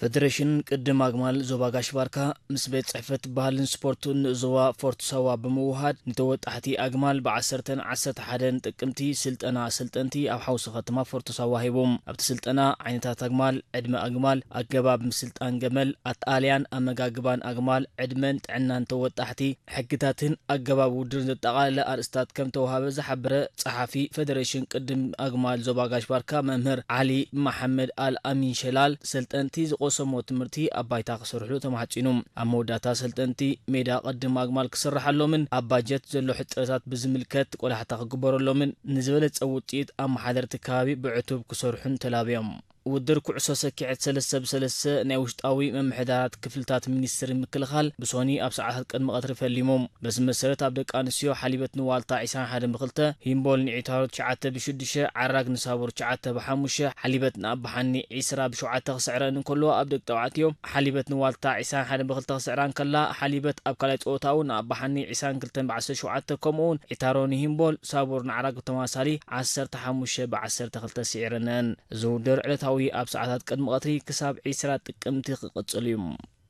ፈደሬሽን ቅድም ኣግማል ዞባ ጋሽ ባርካ ምስ ቤት ጽሕፈት ባህልን ስፖርትን ንእዞባ ፎርት ሳዋ ብምውሃድ ንተወጣሕቲ ኣግማል ብዓሰርተን ዓሰርተ ሓደን ጥቅምቲ ስልጠና ኣሰልጠንቲ ኣብ ሓውሲ ከተማ ፎርት ሳዋ ሂቦም። ኣብቲ ስልጠና ዓይነታት ኣግማል፣ ዕድመ ኣግማል፣ ኣገባብ ምስልጣን ገመል፣ ኣተኣልያን ኣመጋግባን ኣግማል፣ ዕድመን ጥዕናን ተወጣሕቲ፣ ሕግታትን ኣገባብ ውድድርን ዘጠቓለለ ኣርእስታት ከም ተወሃበ ዝሓበረ ጸሓፊ ፈደሬሽን ቅድም ኣግማል ዞባ ጋሽ ባርካ መምህር ዓሊ መሓመድ ኣል ኣሚን ሸላል፣ ሰልጠንቲ ዝቐሰሞ ትምህርቲ ኣብ ባይታ ክሰርሕሉ ተማሕጺኑ። ኣብ መወዳእታ ሰልጠንቲ ሜዳ ቅድም ኣግማል ክስርሓሎምን ኣብ ባጀት ዘሎ ሕጽረታት ብዝምልከት ቆላሕታ ክግበረሎምን ንዝበለጸ ውጽኢት ኣመሓደርቲ ከባቢ ብዕቱብ ክሰርሑን ተላብዮም። ውድድር ኩዕሶ ሰኪዐት ሰለስተ ብሰለስተ ናይ ውሽጣዊ ምምሕዳራት ክፍልታት ሚኒስትሪ ምክልኻል ብሶኒ ኣብ ሰዓታት ቅድሚ ቀትሪ ፈሊሙ። በዚ መሰረት ኣብ ደቂ ኣንስትዮ ሓሊበት ንዋልታ ዒስራን ሓደን ብክልተ፣ ሂምቦል ንዒታሮ ትሽዓተ ብሽዱሽተ፣ ዓራግ ንሳቡር ትሽዓተ ብሓሙሽተ፣ ሓሊበት ንኣባሓኒ ዒስራ ብሸውዓተ ክስዕረን እንከሎ፣ ኣብ ደቂ ተባዕትዮ ሓሊበት ንዋልታ ዒስራን ሓደን ብክልተ ክስዕራ እንከላ፣ ሓሊበት ኣብ ካልኣይ ጸወታ እውን ንኣባሓኒ ዒስራን ክልተን ብዓሰርተ ሸውዓተ፣ ከምኡ እውን ዒታሮ ንሂምቦል፣ ሳቡር ንዓራግ ብተመሳሳሊ ዓሰርተ ሓሙሽተ ብዓሰርተ ክልተ ስዒረነን። እዚ ውድድር ዕለታዊ ኣብ ሰዓታት ቅድሚ ቀትሪ ክሳብ ዒስራ ጥቅምቲ ክቕጽል እዩ።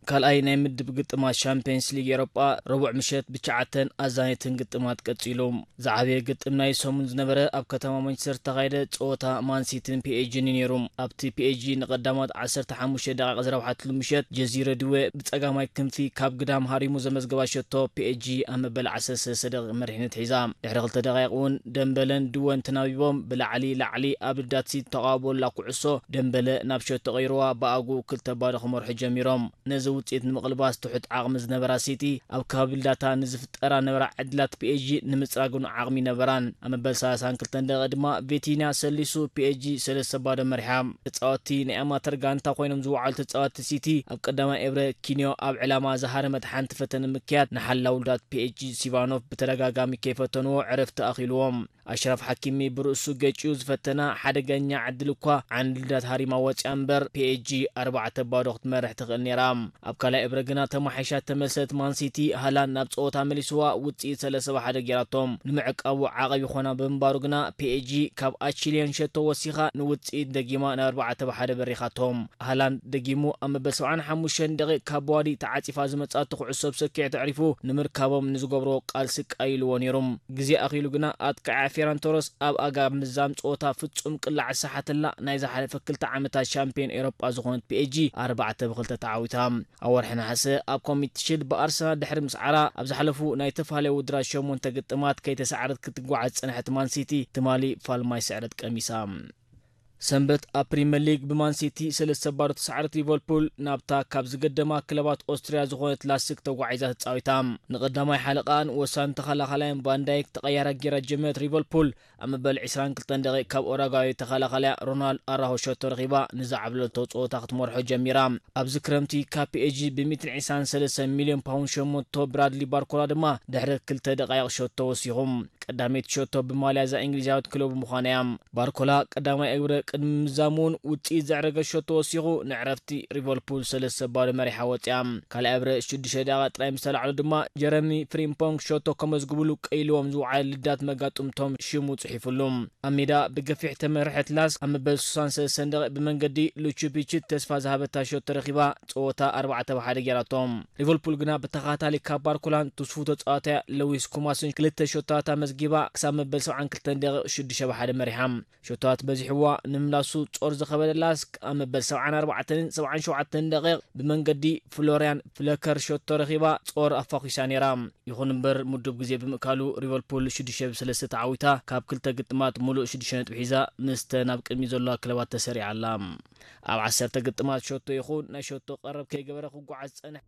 ካልኣይ ናይ ምድብ ግጥማት ሻምፒየንስ ሊግ ኤሮጳ ረቡዕ ምሸት ብትሽዓተን ኣዛነይትን ግጥማት ቀጺሉ። ዝዓበየ ግጥም ናይ ሰሙን ዝነበረ ኣብ ከተማ ማንቸስተር ዝተኻየደ ጸወታ ማንሲቲን ፒኤስጂን እዩ ነይሩ። ኣብቲ ፒኤስጂ ንቐዳማት ዓሰርተ ሓሙሽተ ደቂቕ ዝረብሓትሉ ምሸት፣ ጀዚረ ድወ ብጸጋማይ ክንፊ ካብ ግዳም ሃሪሙ ዘመዝገባ ሸቶ ፒኤስጂ ኣብ መበል ዓሰርተ ሰለስተ ደቂቕ መሪሕነት ሒዛ። ድሕሪ ክልተ ደቂቕ እውን ደምበለን ድወን ተናቢቦም ብላዕሊ ላዕሊ ኣብ ልዳት ሲቲ ተቓውቦላ ኩዕሶ ደምበለ ናብ ሸቶ ቀይርዋ ብኣግኡ ክልተ ባዶ ክመርሑ ጀሚሮም። ነዚ ውጽኢት ንምቕልባስ ትሑት ዓቕሚ ዝነበራ ሲቲ ኣብ ከባቢ ልዳታ ንዝፍጠራ ነበራ ዕድላት ፒኤስጂ ንምጽራግ እውን ዓቕሚ ነበራን። ኣብ መበል ሰላሳን ክልተን ደቂቕ ድማ ቪቲንያ ሰሊሱ ፒኤስጂ ሰለስተ ባዶ መሪሓ። ተጻወትቲ ናይ ኣማተር ጋንታ ኮይኖም ዝወዓሉ ተጻወትቲ ሲቲ ኣብ ቀዳማይ እብረ ኪንዮ ኣብ ዕላማ ዝሃረመት ሓንቲ ፈተነ ምክያድ ንሓላው ልዳት ፒኤስጂ ሲቫኖቭ ብተደጋጋሚ ከይፈተንዎ ዕረፍቲ ኣኺልዎም። ኣሽራፍ ሓኪሚ ብርእሱ ገጭኡ ዝፈተና ሓደገኛ ዕድል እኳ ዓንዲ ልዳት ሃሪማ ወጽያ እምበር፣ ፒኤስጂ ኣርባዕተ ባዶ ክትመርሕ ትኽእል ነይራ። ኣብ ካልኣይ እብረ ግና ተማሒሻ ተመልሰት ማንሲቲ ሃላንድ ናብ ጸወታ መሊስዋ ውጽኢት ሰለስተ ብ ሓደ ጌራቶም። ንምዕቃቡ ዓቐብ ይኾና ብምንባሩ ግና ፒኤስጂ ካብ ኣቺሊየን ሸቶ ወሲኻ ንውጽኢት ደጊማ ናብ ኣርባዕተ ብ ሓደ በሪኻቶም። ሃላንድ ደጊሙ ኣብ መበል ሰብዓን ሓሙሽተን ደቂቕ ካብ በዋዲ ተዓጺፋ ዝመጻቶ ኩዕሶ ብሰኪዕ ተዕሪፉ ንምርካቦም ንዝገብርዎ ቃልሲ ቀይልዎ ነይሩ። ግዜ ኣኺሉ ግና ኣጥቃዓያ ፌራን ቶረስ ኣብ ኣጋ ምዛም ጸወታ ፍጹም ቅላዕ ዝሰሓተላ ናይ ዝሓለፈ ክልተ ዓመታት ሻምፒዮን ኤውሮጳ ዝኾነት ፒኤስጂ ኣርባዕተ ብ ክልተ ተዓዊታ። ኣብ ወርሒ ነሓሰ ኣብ ኮሚቲ ሺልድ ብኣርሰናል ድሕሪ ምስዓራ ኣብ ዝሓለፉ ናይ ተፈላለዩ ውድድራት ሸሞንተ ግጥማት ከይተሰዓረት ክትጓዓዝ ዝጸንሐት ማንሲቲ ትማሊ ፋልማይ ስዕረት ቀሚሳ። ሰንበት ኣብ ፕሪምየር ሊግ ብማን ሲቲ ሰለስተ ባዶ ተሰዓረት ሊቨርፑል ናብታ ካብ ዝገደማ ክለባት ኦስትርያ ዝኾነት ላስክ ተጓዒዛ ተጻዊታ። ንቐዳማይ ሓለቓን ወሳኒ ተኸላኻላይን ቫንዳይክ ተቐያራ ጌራ ጀመረት ሊቨርፑል ኣብ መበል ዒስራን ክልተን ደቂቕ ካብ ኦራጓይ ተኸላኻላያ ሮናልድ ኣራሆ ሸቶ ረኺባ ንዝዓብለቶ ጸወታ ክትመርሖ ጀሚራ። ኣብዚ ክረምቲ ካብ ፒኤስጂ ብሚእትን ዒስራን ሰለስተን ሚልዮን ፓውንድ ሸመቶ ብራድሊ ባርኮላ ድማ ድሕሪ ክልተ ደቓይቕ ሸቶ ወሲኹ። ቀዳመይቲ ሸቶ ብማልያ እዛ እንግሊዛዊት ክለቡ ምዃና እያ። ባርኮላ ቀዳማይ እግረ ቅድሚ ምዛሙ እውን ውጽኢት ዘዕረገ ሸቶ ወሲኹ ንዕረፍቲ ሊቨርፑል ሰለስተ ባዶ መሪሓ ወጽያ። ካልኣይ እግረ ሽዱሽተ ደቂቓ ጥራይ ምስ ተላዕሎ ድማ ጀረሚ ፍሪምፖንግ ሸቶ ከመዝግብሉ ቀይልዎም ዝወዓለ ልዳት መጋጥምቶም ሽሙ ጽሒፉሉ። ኣብ ሜዳ ብገፊሕ ተመርሐት ላስክ ኣብ መበል ሱሳን ሰለስተን ደቂቕ ብመንገዲ ሉቹፒችት ተስፋ ዝሃበታ ሸቶ ረኺባ ጸወታ ኣርባዕተ ብ ሓደ ጌራቶም። ሊቨርፑል ግና ብተኸታታሊ ካብ ባርኮላን ትስፉ ተጻዋታያ ለዊስ ኩማስን ክልተ ሸቶታት ኣመዝጊባ ክሳብ መበል ሰብዓን ክልተን ደቂቕ ሽዱሽተ ብ ሓደ መሪሓ። ሸቶታት በዚሕዋ ንምምላሱ ጾር ዝኸበደ ላስክ ኣብ መበል ሰብዓን ኣርባዕተን ሰብዓን ሸውዓተን ደቂቕ ብመንገዲ ፍሎርያን ፍለከር ሸቶ ረኺባ ጾር ኣፋኺሳ ነይራ። ይኹን እምበር ምዱብ ግዜ ብምእካሉ ሊቨርፑል ሽዱሽተ ብ ሰለስተ ተዓዊታ ካብ ክልተ ግጥማት ሙሉእ ሽዱሽተ ነጥቢ ሒዛ ምስተን ኣብ ቅድሚት ዘለዋ ክለባት ተሰሪዓ ኣላ። ኣብ ዓሰርተ ግጥማት ሸቶ ይኹን ናይ ሸቶ ቀረብ ከይገበረ ክጓዓዝ ዝጸንሐ